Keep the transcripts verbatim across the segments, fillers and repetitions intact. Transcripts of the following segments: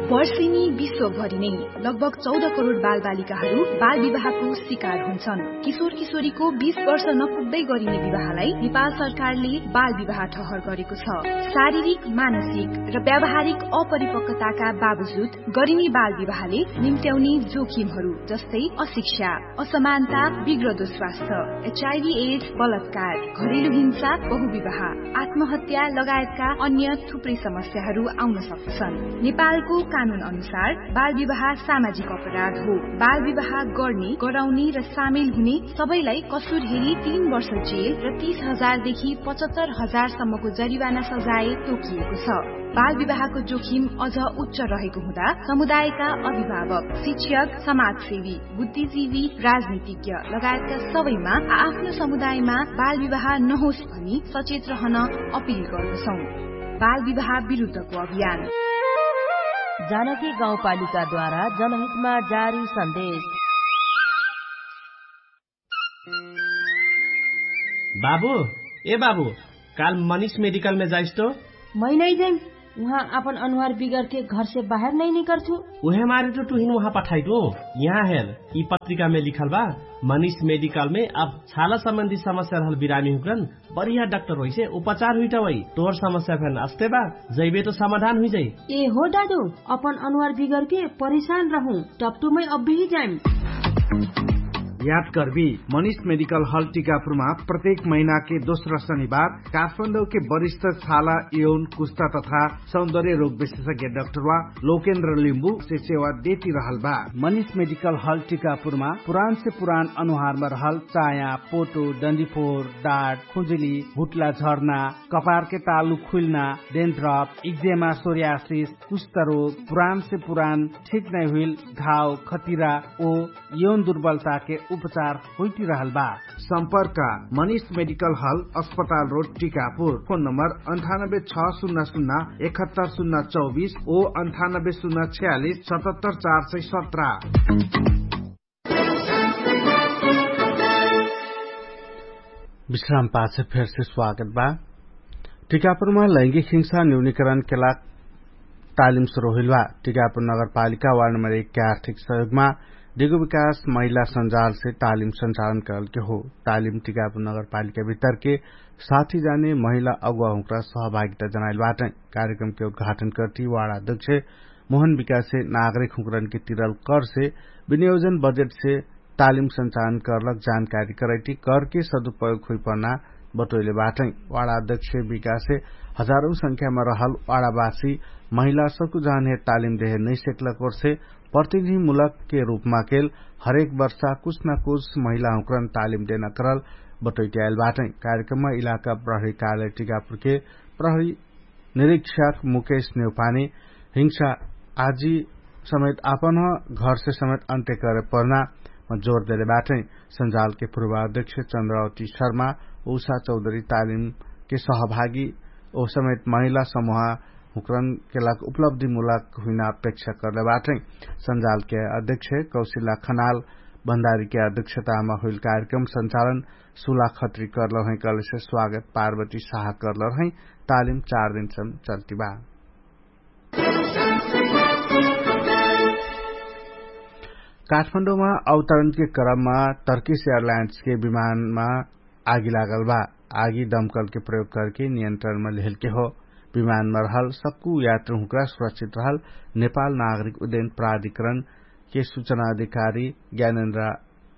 वर्षिनी विश्वभरि नै लगभग चौध करोड बालबालिकाहरू बालविवाहको शिकार हुन्छन्। किशोर किशोरीको बीस वर्ष नपुग्दै गरिने विवाहलाई नेपाल सरकारले बालविवाह ठहर गरेको छ। शारीरिक, मानसिक र व्यावहारिक अपरिपक्वताका बावजुद गरिने बालविवाहले निम्त्याउने जोखिमहरू जस्तै अशिक्षा, असमानता, बिग्रदो स्वास्थ्य, एचआइभी एड्स, बलात्कार, घरेलु हिंसा, बहुविवाह, आत्महत्या लगायतका अन्य थुप्रै समस्याहरू आउन सक्दछन्। नेपालको कानुन अनुसार बालविवाह सामाजिक अपराध हो। बालविवाह गर्ने, गराउने र सामेल हुने सबैलाई कसुर हेरी तीन वर्ष जेल र तीस हजार देखि पचहत्तर हजार सम्मको जरिवाना सजाय तोकिएको छ। बालविवाहको जोखिम अझ उच्च रहेको हुँदा समुदायका अभिभावक, शिक्षक, समाजसेवी, बुद्धिजीवी, राजनीतिज्ञ लगायतका सबैमा आआफ्नो समुदायमा बालविवाह नहोस् भनी सचेत रहन अपिल गर्दछौं। बालविवाह विरुद्धको अभियान। जानकी गाउँपालिकाद्वारा जनहितमा जारी सन्देश। बाबु, ए बाबु, काल मनिष मेडिकलमे जाइस तो? मै नै जैम। उहाँ आपन अनुहार बिगरके घरसे बाहेर नै निकरछु। उहे मारे तो टुहिन उहाँ पठाइटु। यहाँ हेर, यि पत्रिकामे लिखल बा, मनिष मेडिकलमे अब छाला सम्बन्धी समस्या रहल बिरामी हुक्रन बढिया डाक्टर होइसे उपचार हुइटवै। तोहर समस्या फेन अस्ते बा, जैबे तो समाधान हुइजै। ए हो दादु, अपन अनुहार बिगरके परेशान रहु, टप्टुमै अब्बेही जाइम। याद करबी, मनिष मेडिकल हल टिकापुरमा प्रत्येक महिनाके दोस्रा शनिबार काठमाडौके वरिष्ठ छाला, यौन, कुस्ता तथा सौन्दर्य रोग विशेषज्ञ डाक्टरवा लोकेन्द्र लिम्बु से सेवा देती रहल बा। मनिष मेडिकल हल टिकापुरमा पुरान से पुरान अनुहारमा रहल चाया, पोटो, डन्डीफोर, डाट, खुजुली, भुट्ला झर्ना, कपारके तालु खुल्ना, डेन्ड्रप, इक्जेमा, सोरियासिस, कुष्ठरोग, पुरान से पुरान ठीक नै हुइल घाव, खतिरा ओ यौन दुर्बलताके उपचार होइटिरहल बा। सम्पर्क, मनिष मेडिकल हल, अस्पताल रोड, टिकापुर। फोन नम्बर अन्ठानब्बे छ शून्य शून्य एकहत्तर शून्य चौबिस ओ अन्ठानब्बे शून्य छयालिस सतहत्तर चार सय सत्र। विश्राम पाछे फेरसे स्वागत बा। टिकापुरमा लैंगिक हिंसा न्यूनीकरण केला तालिम सुरु होइल बा। टिकापुर नगरपालिका वार्ड नम्बर एक के आर्थिक सहयोगमा डिगो विकास महिला सञ्जालसे तालिम सञ्चालन करलके हो। तालिम टिकापुर नगरपालिका भितरके साथी जाने महिला अगुवा हुँक्रा सहभागिता जनाइल बाटै। कार्यक्रमके उद्घाटन करती वार्ड अध्यक्ष मोहन विकासे नागरिक हुँक्रनके तिरल करसे विनियोजन बजेटसे तालिम सञ्चालन करलक जानकारी करैटी करके सदुपयोग हुइपर्ना बटोइले बाटै। वाडा अध्यक्ष विकासे हजारौं संख्यामा रहल वाडावासी महिला सकु जहनहे तालिम देहे नैसेकलक ओर्से प्रतिनिधिमुलकके रूपमा केल हरेक वर्षा कुछ न कुछ महिला हुँक्रन तालिम देना करल बटोइट्याएल बाटै। कार्यक्रममा इलाका प्रहरी कार्यालय टिकापुरके प्रहरी निरीक्षक मुकेश नेउपाने हिंसा आजी समेत आपन घरसे समेत अन्त्य करे पर्ना जोर देले बाटै। सञ्जालके पूर्वाध्यक्ष चन्द्रावती शर्मा उषा चौधरी तालिमके सहभागी ओ समेत महिला समूह हुँक्रनके लाग उपलब्धिमुलक हुइना अपेक्षा करले बाटै। सञ्जालके अध्यक्ष कौशिला खनाल भण्डारीके अध्यक्षतामा हुइल कार्यक्रम सञ्चालन सुला खत्री करलहै कहलेसे स्वागत पार्वती साहा करलहै। तालिम चार दिनसम चल्तिबा। काठमाडौमा अवतरणके क्रममा टर्किस एयरलाइन्सके विमानमा आगी लागल बा। आगी दमकलके प्रयोग करके नियन्त्रणमा लेहलके हो। विमानमा रहल सक्कु यात्रुहुँक्रा सुरक्षित रहल नेपाल नागरिक उद्यन प्राधिकरणके सुचना अधिकारी ज्ञानेन्द्रा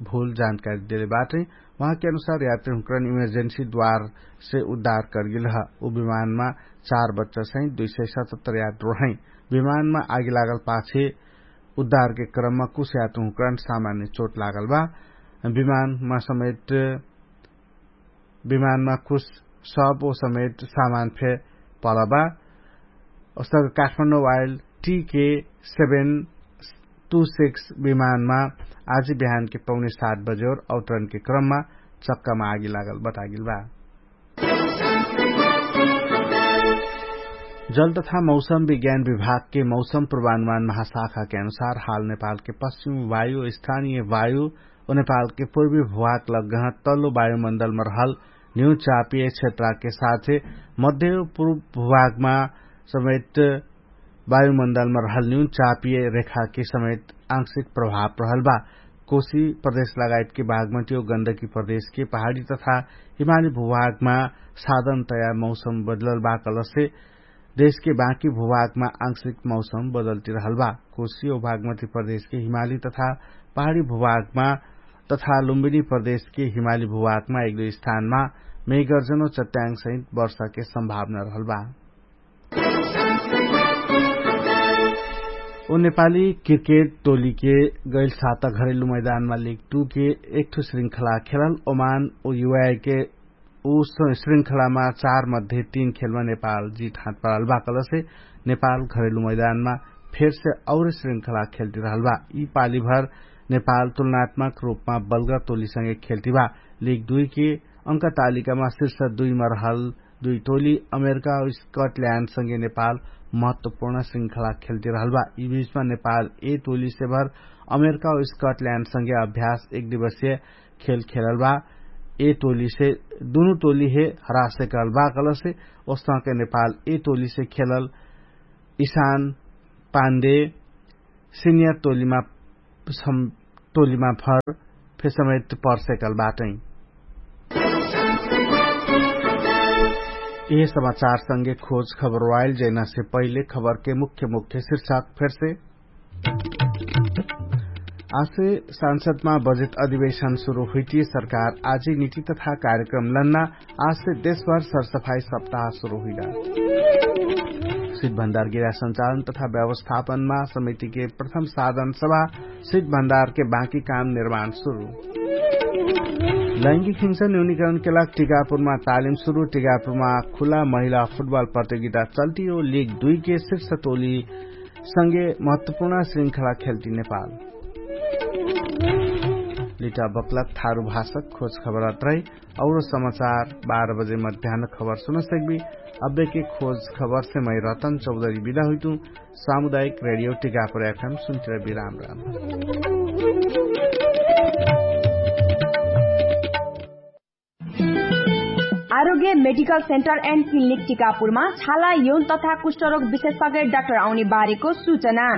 भूल जानकारी देले बाटै। उहाँके अनुसार यात्रीहुँक्रन इमर्जेन्सी द्वारसे उद्धार करगेल ह। उ विमानमा चार बच्चासहित दुई सय सतहत्तर यात्रु रहै। विमानमा आगी लागल पाछे उद्धारके क्रममा कुछ यात्रीहुँक्रन सामान्य चोट लागल बा। विमानमा समेट विमानमा कुछ सब ओ समेट सामान फे पलबा। ओसक काठमाडौं वाइल टिके सेभेन टु सिक्स विमानमा आज बिहानके पौने सात बजे और अवतरणके क्रममा चक्कामा आगी लागल बतागेल बा। जल तथा मौसम विज्ञान विभागके मौसम पूर्वानुमान महाशाखाके अनुसार हाल नेपालके पश्चिम वायु स्थानीय वायु ओ नेपालके पूर्वी भूभाग लग्गह तल्लो वायुमण्डलमा रहल न्यू चापिय क्षेत्रके साथे मध्य पूर्व भूभागमा समेट वायुमण्डलमा रहल न्यून चापिय रेखाके समेत आंशिक प्रभाव रहल बा। कोशी प्रदेश लगायतके बागमतियो गन्दकी प्रदेशके पहाडी तथा हिमाली भूभागमा साधन तया मौसम बदलल बा कलसे देशके बाँकी भूभागमा आंशिक मौसम बदलती रहल बा। कोशी ओ बागमती प्रदेशके हिमाली तथा पहाडी भूभागमा तथा लुम्बिनी प्रदेशके हिमाली भूभागमा एक दुई स्थानमा मेघर्जनो चट्याङ्ग सहित वर्षाके सम्भावना रहल बा। ओ नेपाली क्रिकेट टोलीके गैल साता घरेलु मैदानमा लिग टू के एकठो श्रृंखला खेलल ओमान ओ युवाके उ श्रृंखलामा चार मध्ये तीन खेलमा नेपाल जित हात पराल बा कलसे नेपाल घरेलु मैदानमा फेरसे और श्रृंखला खेलती रहल बा। यि पालीभर नेपाल तुलनात्मक रूपमा बल्गर टोलीसँगे खेलती बा। लिग दुई के अंक तालिकामा शीर्ष दुईमा रहल दुई टोली अमेरिका स्कटल्याण्डसँगे नेपाल महत्वपूर्ण श्रृंखला खेलती रहल बा। यि बीचमा नेपाल ए टोलीसे भर अमेरिका स्कटल्याण्डसँगे अभ्यास एक दिवसीय खेल खेलल बा। ए टोलीसे दुनु टोलीहे हरासे कहल बा कलसे ओस्तके नेपाल ए टोलीसे खेलल इसान पान्डे सिनियर टोलीमा टोलीमा फर फेसमेत पर्सेकल बाटै। यह समाचारसँगे खोज खबर वाइल जैनासे पहिले खबरके मुख्य मुख्य शीर्षक फेरसे आसे सांसदमा बजेट अधिवेशन सुरु हुइटी सरकार आजै निति तथा कार्यक्रम लन्ना। आसे देशभर सरसफाई सप्ताह सुरु हुइला। सिट भण्डार गिरा संचालन तथा व्यवस्थापनमा समितिके प्रथम साधन सभा सिट भण्डारके बाँकी काम निर्माण सुरु। लैङ्गिक हिंसा न्यूनिकरणके लाग टिकापुरमा तालिम सुरु टिकापुरमा खुला महिला फुटबल प्रतियोगिता चल्तियो लिग दुइके शीर्ष टोली सँगे महत्वपूर्ण श्रृंखला खेल्ति नेपाल। लिटा बक्लक थारु भाषक खोज खबरत रहि और समाचार बाह्र बजे मध्यान खबर सुनसक्बि। अब्बेके खोज खबरसे मै रतन चौधरी बिदा हुइतु। सामुदायिक रेडियो टिकापुर एफएम सुन्तिरबि राम राम। आरोग्य मेडिकल सेन्टर एन्ड क्लिनिक टिकापुरमा छाला यौन तथा कुष्ठरोग विशेषज्ञ डाक्टर आउने बारेको सूचना।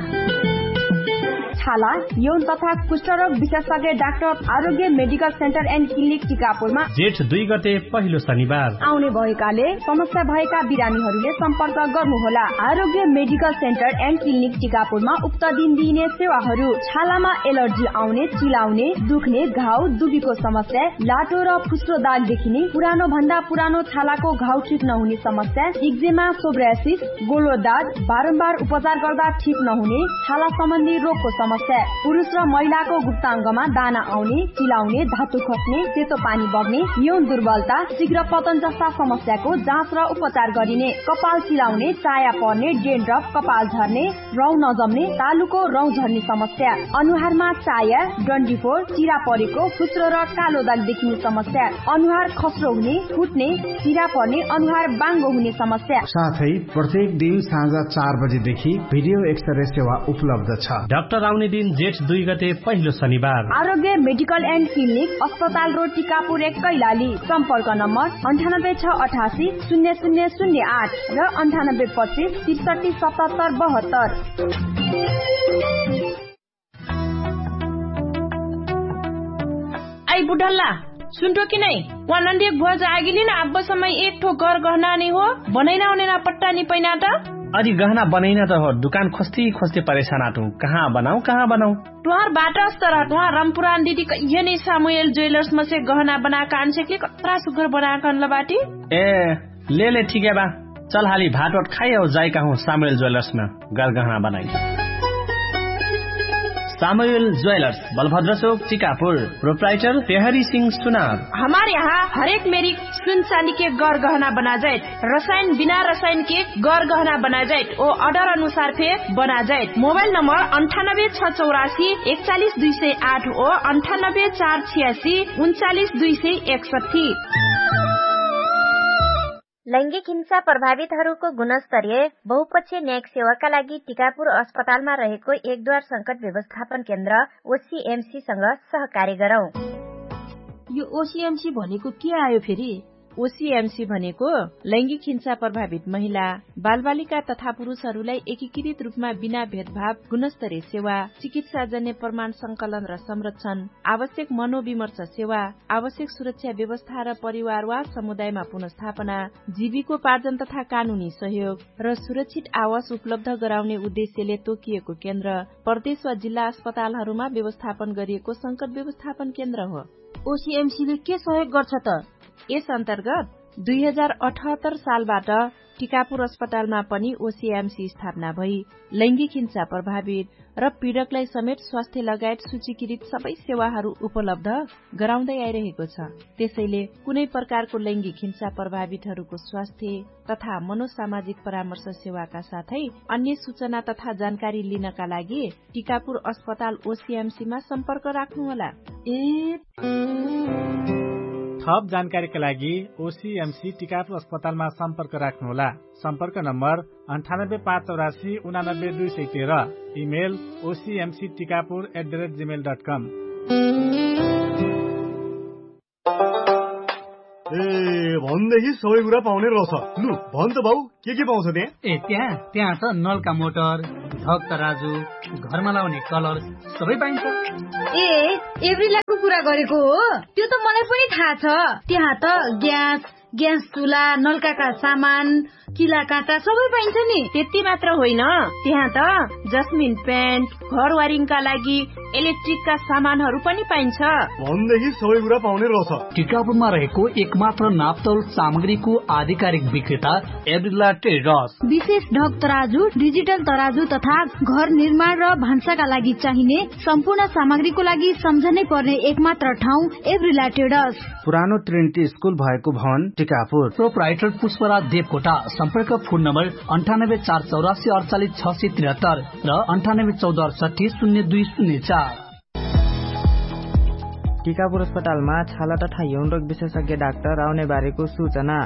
छाला यौन तथा कुष्ठरोग विशेषज्ञ डाक्टर आरोग्य मेडिकल सेन्टर एन्ड क्लिनिक टिकापुरमा जेठ दुई गते पहिलो शनिबार आउने भएकाले समस्या भएका बिरामीहरूले सम्पर्क गर्नुहोला। आरोग्य मेडिकल सेन्टर एन्ड क्लिनिक टिकापुरमा उक्त दिन दिइने सेवाहरू छालामा एलर्जी आउने, चिलाउने, दुख्ने, घाउ दुबीको समस्या, लाटो र फुस्रो दाग देखिने, पुरानो भन्दा पुरानो छालाको घाउ ठिक नहुने समस्या, इक्जेमा, सोब्रासिस, गोलो दाग, बारम्बार उपचार गर्दा ठिक नहुने छाला सम्बन्धी रोगको समस्या, पुरुष र महिलाको गुप्ताङ्गमा दाना आउने, चिलाउने, धातु खस्ने, सेतो पानी बग्ने, यौन दुर्बलता, शीघ्र पतन जस्ता समस्याको जाँच र उपचार गरिने, कपाल चिलाउने, चाया पर्ने, डेन्ड्रफ, कपाल झर्ने, रौँ नजम्ने, तालुको रौँ झर्ने समस्या, अनुहारमा चाया, डन्डीफोर, चिरा परेको, फुस्रो र कालो दाग देखिने समस्या, अनुहार खस्रो हुने, फुट्ने, चिरा पर्ने, अनुहार बाङ्गो हुने समस्या। साथै प्रत्येक दिन साँझ चार बजेदेखि भिडियो एक्सरे सेवा उपलब्ध छ। डाक्टर आउने दिन जेठ दुई गते पहिलो शनिबार। आरोग्य मेडिकल एन्ड क्लिनिक, अस्पताल रोड, टिकापुर एक, कैलाली। सम्पर्क नम्बर अन्ठानब्बे छ अठासी शून्य शून्य शून्य आठ र अन्ठानब्बे पच्चिस त्रिसठी सतहत्तर बहत्तर। आई बुढल्ला, सुन्ठो कि नै? वा नन्दियक भुवाज आगिलिन आब्बसम्मै एक ठो गर गहना नै हो, बनैना ओनैना पट्टा नि पैना त। अदि गहना बनैना त हो, दुकान खोस्ती खोस्ती परेशान आटु। कहाँ बनाउ कहाँ बनाउ? तुहार बाटस तर तुहार रमपुरान दिदी कहियो नै सामुएल ज्वेलर्स मसे गहना बनाक आनसेकली कत्रा सुग्घर बनाक अनल बाटी। ए, ले ले ठिकै बा। चल हाली भाटवट खाइ औ जाइ कहु सामुएल ज्वेलर्समा गरगहना बनाइ। सामुएल ज्वेलर्स, बलभद्र चोक, चिकापुर। प्रोप्राइटर पेहरी सिंह सुनार। हमार यहाँ हरेक मेरी सुन चाँदीके गरगहना बनाजाइत, रसाइन बिना रसाइनके गरगहना बनाजाइत, ओ अर्डर अनुसार फे बनाजाइत। मोबाइल नम्बर अन्ठानब्बे छ चौरासी एकचालिस दुई सय आठ ओ अन्ठानब्बे चार छियासी उन्चालिस दुई सय एकसट्ठी। लैङ्गिक हिंसा प्रभावितहरूको गुणस्तरीय बहुपक्षीय न्यायिक सेवाका लागि टिकापुर अस्पतालमा रहेको एक द्वार संकट व्यवस्थापन केन्द्र ओसिएमसीसँग सहकार्य गरौँ। यो ओसिएमसी भनेको के आयो फेरि? ओसिएमसी भनेको लैङ्गिक हिंसा प्रभावित महिला, बालबालिका तथा पुरुषहरूलाई एकीकृत रूपमा बिना भेदभाव गुणस्तरीय सेवा, चिकित्साजन्य प्रमाण संकलन र संरक्षण, आवश्यक मनोविमर्श सेवा, आवश्यक सुरक्षा व्यवस्था र परिवार वा समुदायमा पुनर्स्थापना, जीविकोपार्जन तथा कानुनी सहयोग र सुरक्षित आवास उपलब्ध गराउने उद्देश्यले तोकिएको केन्द्र प्रदेश वा जिल्ला अस्पतालहरूमा व्यवस्थापन गरिएको संकट व्यवस्थापन केन्द्र हो। ओसिएमसीले के सहयोग गर्छ त? यस अन्तर्गत दुई हजार अठहत्तर सालबाट टिकापुर अस्पतालमा पनि ओसिएमसी स्थापना भई लैङ्गिक हिंसा प्रभावित र पीडकलाई समेत स्वास्थ्य लगायत सूचीकृत सबै सेवाहरू उपलब्ध गराउँदै आइरहेको छ। त्यसैले कुनै प्रकारको लैङ्गिक हिंसा प्रभावितहरूको स्वास्थ्य तथा मनोसामाजिक परामर्श सेवाका साथै अन्य सूचना तथा जानकारी लिनका लागि टिकापुर अस्पताल ओसिएमसीमा सम्पर्क राख्नुहोला। ए थप जानकारीका लागि ओसिएमसी टिकापुर अस्पतालमा सम्पर्क राख्नुहोला। सम्पर्क नम्बर अन्ठानब्बे पाँच चौरासी उनानब्बे दुई सय तेह्र। Email OCMC Tikapur at the rate gmail dot com. ए, भन्देखि सबै कुरा पाउने रहेछ। लु, भन त बाउ, के के पाउँछ त्यहाँ? ए, त्यहाँ त्यहाँ त नलका मोटर, ढक तराजु, घरमा लाउने कलर, सबै पाइन्छ। ए, एभ्रिलाको कुरा गरेको हो? त्यो त मलाई पनि थाहा छ। त्यहाँ त ग्यास, ग्यास चुला, नलकाका सामान, किला काँटा सबै पाइन्छ नि। त्यति मात्र होइन, त्यहाँ त जस्मिन पेन्ट, घर वारिङका लागि इलेक्ट्रिकका सामानहरू पनि पाइन्छ। भन्देखि सबै कुरा पाउने रहेछ। टिकापुरमा रहेको एकमात्र नाप्तौल सामग्रीको आधिकारिक विक्रेता एभ्रिला ट्रेडर्स। विशेष ढक तराजु, डिजिटल तराजु तथा घर निर्माण र भान्साका लागि चाहिने सम्पूर्ण सामग्रीको लागि सम्झनै पर्ने एकमात्र ठाउँ एभ्रिला ट्रेडर्स। पुरानो ट्रिनिटी स्कुल भएको भवन टिकापुर। प्रोपराइटर पुष्पराज देवकोटा। सम्पर्क फोन नम्बर अन्ठानब्बे चार चौरासी अडचालिस छ सय त्रिहत्तर र अन्ठानब्बे चौध अडसट्ठी शून्य दुई शून्य चार। टिकापुर अस्पतालमा छाला तथा यौनरोग विशेषज्ञ डाक्टर आउने बारेको सूचना।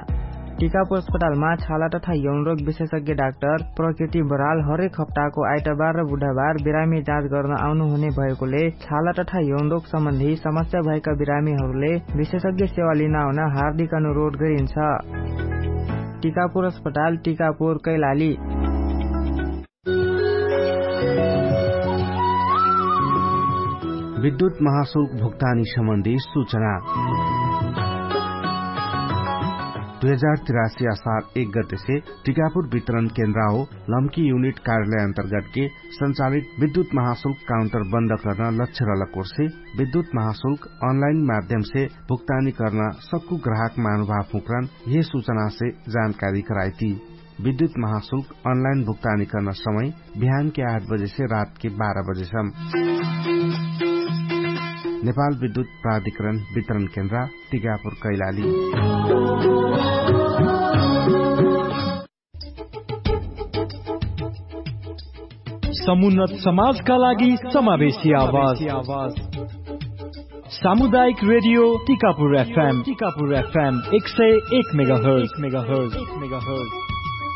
टिकापुर अस्पतालमा छाला तथा यौनरोग विशेषज्ञ डाक्टर प्रकृति बराल हरेक हप्ताको आइतबार र बुधबार बिरामी जाँच गर्न आउनुहुने भएकोले छाला तथा यौनरोग सम्बन्धी समस्या भएका बिरामीहरूले विशेषज्ञ सेवा लिन आउन हार्दिक अनुरोध गरिन्छ। टिकापुर अस्पताल, टिकापुर, कैलाली। विद्युत महाशुल्क भुक्तानी सम्बन्धी सूचना। दुई हजार तिरासी असार एक गतेसे टिकापुर वितरण केन्द्राओ लम्की युनिट कार्यालय अन्तर्गतके सञ्चालित विद्युत महाशुल्क काउन्टर बन्द कर्न लक्ष्य रलकोर्से विद्युत महाशुल्क अनलाइन माध्यमसे भुक्तानी कर्न सक्कु ग्राहक महानुभाव हुँक्रन यहे सूचनासे जानकारी कराइती। विद्युत महाशुल्क अनलाइन भुक्तानी कर्न समय बिहानके आठ बजेसे रातके बाह्र बजेसम। नेपाल विद्युत प्राधिकरण वितरण केन्द्रा टिकापुर कैलाली। समुन्नत समाजका लागि समावेशी आवाज। सामुदायिक रेडियो टिकापुर एफएम टिकापुर एफएम एक सय एक मेगाहर्ज।